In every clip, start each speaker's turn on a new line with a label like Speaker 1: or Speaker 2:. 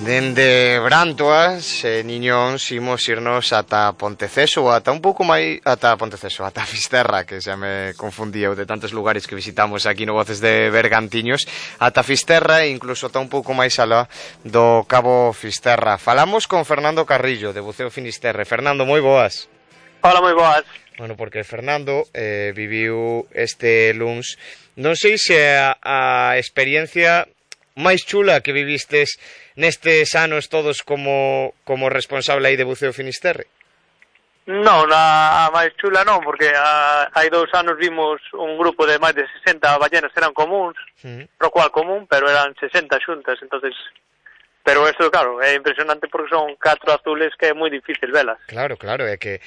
Speaker 1: Dende Brantoas, Niñóns, imos irnos ata Ponteceso, ou ata un pouco máis ata Ponteceso, ata Fisterra, que xa me confundía de tantos lugares que visitamos aquí no Voces de Bergantiños, ata Fisterra e incluso ata un pouco máis alá do Cabo Fisterra. Falamos con Fernando Carrillo, de Buceo Finisterre. Fernando, moi boas.
Speaker 2: Hola, moi boas.
Speaker 1: Bueno, porque Fernando viviu este luns. Non sei se a experiencia máis chula que vivistes nestes anos todos como responsable aí de Buceo Finisterre.
Speaker 2: Non, a máis chula non, porque hai 2 anos vimos un grupo de máis de 60 ballenas, eran comuns, pro cual común, pero eran 60 xuntas, entonces... Pero eso, claro, é impresionante porque son 4 azules que é moi difícil velas.
Speaker 1: Claro, é que,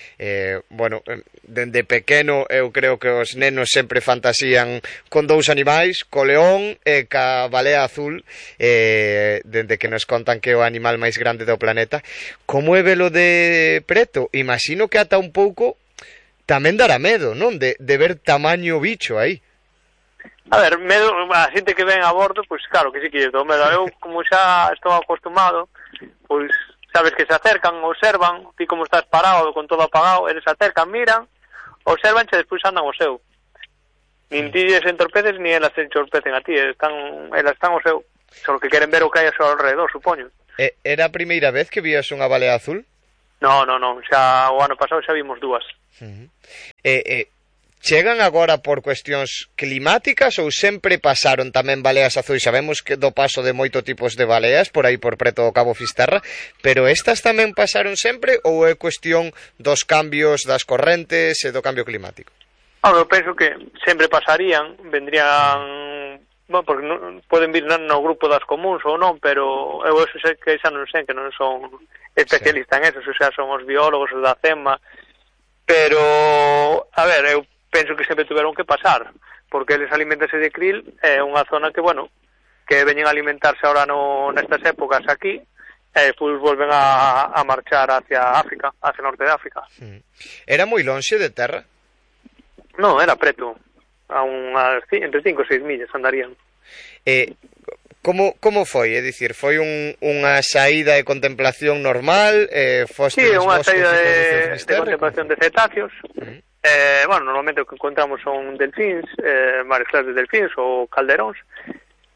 Speaker 1: bueno, dende pequeno eu creo que os nenos sempre fantasían con 2 animais, co león e ca balea azul, dende que nos contan que é o animal máis grande do planeta. Como é velo de preto? Imagino que ata un pouco tamén dará medo, non? De ver tamaño bicho aí.
Speaker 2: A ver, medo, a xente que ven a bordo, pois claro que sí que lle dou medo. Eu, como xa estou acostumado, pois sabes que se acercan, observan, ti como estás parado, con todo apagado, eles acercan, miran, observan e despois andan o seu. Nin ti se entorpeces, ni elas se entorpecen a ti, elas están o seu. Só que queren ver o que hai a seu alrededor, supoño.
Speaker 1: Era a primeira vez que vías unha balea azul?
Speaker 2: Non, xa o ano pasado xa vimos 2.
Speaker 1: Chegan agora por cuestións climáticas ou sempre pasaron tamén baleas azuis? Sabemos que do paso de moito tipos de baleas por aí por preto do Cabo Fisterra, pero estas tamén pasaron sempre ou é cuestión dos cambios das correntes e do cambio climático?
Speaker 2: Eu penso que sempre pasarían, vendrían... Bueno, porque non, poden vir no grupo das comuns ou non, pero eu eso sei que xa non sei, que non son especialista en eso, xa son os biólogos, os da CEMA, pero, a ver, eu penso que sempre tuveron que pasar, porque eles alimentanse de krill, é unha zona que, bueno, que veñen a alimentarse ahora nestas épocas aquí, e despois volven a marchar hacia África, hacia o norte de África.
Speaker 1: Era moi lonxe de terra?
Speaker 2: Non, era preto, a entre 5 e 6 millas andarían.
Speaker 1: Como foi? É dicir, foi unha saída de contemplación normal?
Speaker 2: Sí, unha saída de contemplación de cetáceos. Bueno, normalmente o que encontramos son delfíns, mares claras de delfíns ou calderóns.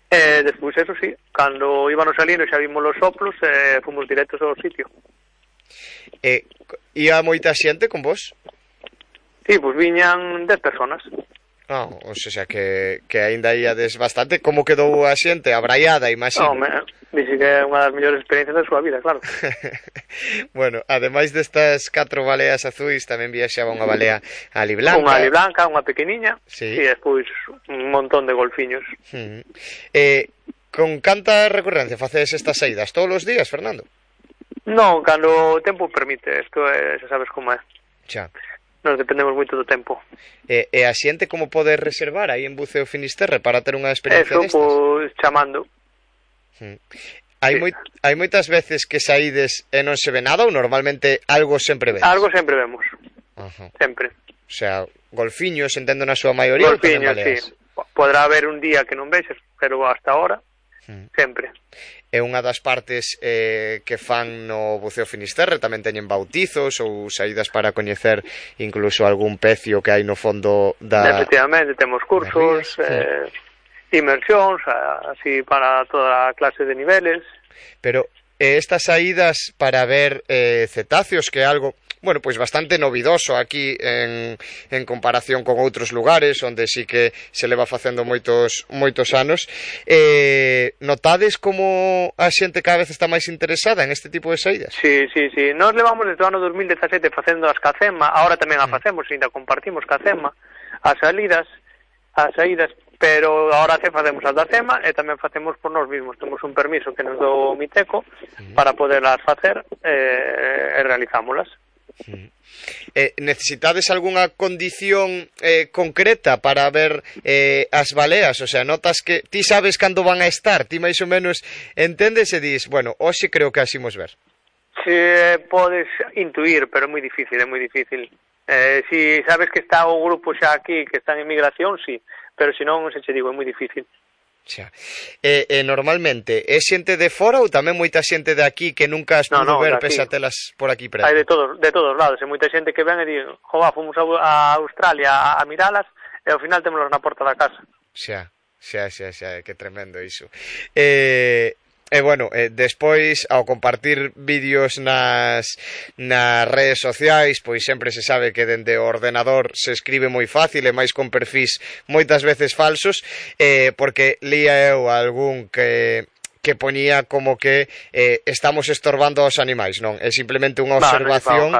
Speaker 2: Despois, eso sí, cando íbamos salindo xa vimos os soplos, fomos directos ao sitio.
Speaker 1: Ia moita xente con vos?
Speaker 2: Sí, pois viñan 10 personas.
Speaker 1: O sea que aínda íades bastante. Como quedou a xente? Abraiada, imagino.
Speaker 2: Dixe que é unha das mellores experiencias da súa vida, claro.
Speaker 1: Bueno, ademais destas 4 baleas azuis, tamén viaxaba unha balea aliblanca.
Speaker 2: Unha aliblanca, unha pequeniña,
Speaker 1: sí.
Speaker 2: E despois un montón de golfiños.
Speaker 1: Con canta recurrencia facedes estas saídas? Todos os días, Fernando?
Speaker 2: Non, cando o tempo permite, isto xa sabes como é.
Speaker 1: Xa.
Speaker 2: Nos dependemos moito do tempo.
Speaker 1: E a xente como pode reservar aí en Buceo Finisterre para ter unha experiencia destas?
Speaker 2: Pois chamando.
Speaker 1: Hai moitas veces que saídes e non se ve nada ou normalmente algo sempre ves?
Speaker 2: Algo sempre vemos. Sempre.
Speaker 1: O sea, golfiños, entendo na súa maioría.
Speaker 2: Golfiños, sí. Podrá haber un día que non vexes, pero hasta ahora sempre.
Speaker 1: É unha das partes que fan no Buceo Finisterre, tamén teñen bautizos ou saídas para coñecer incluso algún pecio que hai no fondo da...
Speaker 2: Efectivamente, temos cursos, inmersións, así para toda a clase de niveles.
Speaker 1: Pero estas saídas para ver cetáceos, que é algo... Bueno, pois bastante novidoso aquí en comparación con outros lugares onde sí que se leva facendo moitos anos. Notades como a xente cada vez está máis interesada en este tipo de saídas?
Speaker 2: Sí. Nós levamos desde o ano 2017 facendo as CACEMA, ahora tamén a facemos, ainda compartimos CACEMA, as saídas, pero ahora facemos as da CEMA e tamén facemos por nós mesmos. Temos un permiso que nos do Miteco para poderlas facer e realizámolas.
Speaker 1: Necesitades algunha condición concreta para ver as baleas? O sea, notas que ti sabes cando van a estar, ti máis ou menos entendes e dis, bueno, hoxe creo que así imos ver.
Speaker 2: Si podes intuir, pero é moi difícil. Si sabes que está o grupo xa aquí, que está en migración, sí, pero se non, se che digo, é moi difícil.
Speaker 1: Xa. Normalmente é xente de fora ou tamén moita xente de aquí que nunca as pudo ver pese a telas por aquí preto?
Speaker 2: Hai de todos lados, e moita xente que ven e di, jova, fomos a Australia a miralas e ao final témolos na porta da casa.
Speaker 1: Xa, que tremendo iso. Bueno, despois, ao compartir vídeos nas redes sociais, pois sempre se sabe que dende o ordenador se escribe moi fácil e máis con perfís moitas veces falsos, porque lía eu algún que poñía como que estamos estorbando aos animais, non? É simplemente unha observación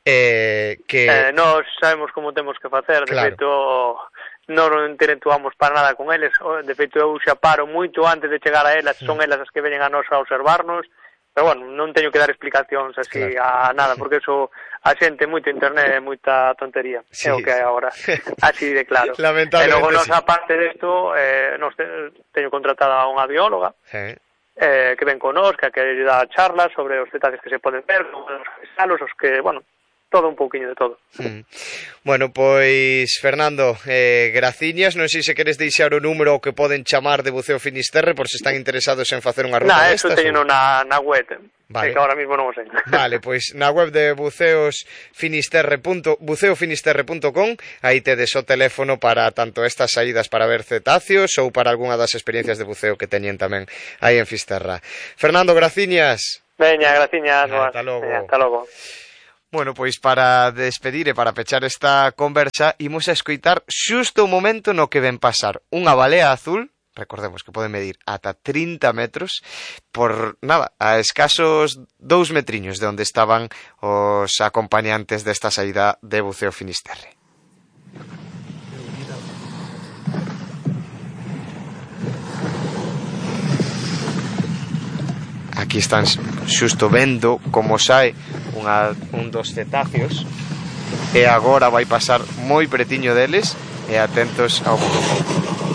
Speaker 1: que...
Speaker 2: Nós sabemos como temos que facer, de feito... non interactuamos para nada con eles, de feito eu xa paro moito antes de chegar a elas, son elas as que veñen a nos a observarnos, pero bueno, non teño que dar explicacións así a nada, porque eso a xente moito internet, moita tontería, é o que hai agora, así de claro. E logo nos, aparte desto, teño contratada unha bióloga, que ven con nos, que dá charlas sobre os detalles que se poden ver, os que, bueno, todo un pouquiño de todo.
Speaker 1: Bueno, pois, Fernando, graciñas, non sei se queres deixar o número que poden chamar de Buceo Finisterre por se están interesados en facer unha ruta destas.
Speaker 2: Eso teño na web, que agora mismo non o sei.
Speaker 1: Vale, pois na web de buceofinisterre.com aí tedes o teléfono para tanto estas saídas para ver cetáceos ou para algunha das experiencias de buceo que teñen tamén aí en Fisterra. Fernando, graciñas.
Speaker 2: Veña, graciñas.
Speaker 1: Ata logo.
Speaker 2: Ata logo.
Speaker 1: Bueno, pois para despedir e para pechar esta conversa imos a escoitar xusto o momento no que ven pasar unha balea azul, recordemos que pode medir ata 30 metros, por nada, a escasos 2 metriños de onde estaban os acompañantes desta saída de Buceo Finisterre. Aquí están xusto vendo como sae un dos cetáceos e agora vai pasar moi pretiño deles e atentos ao momento.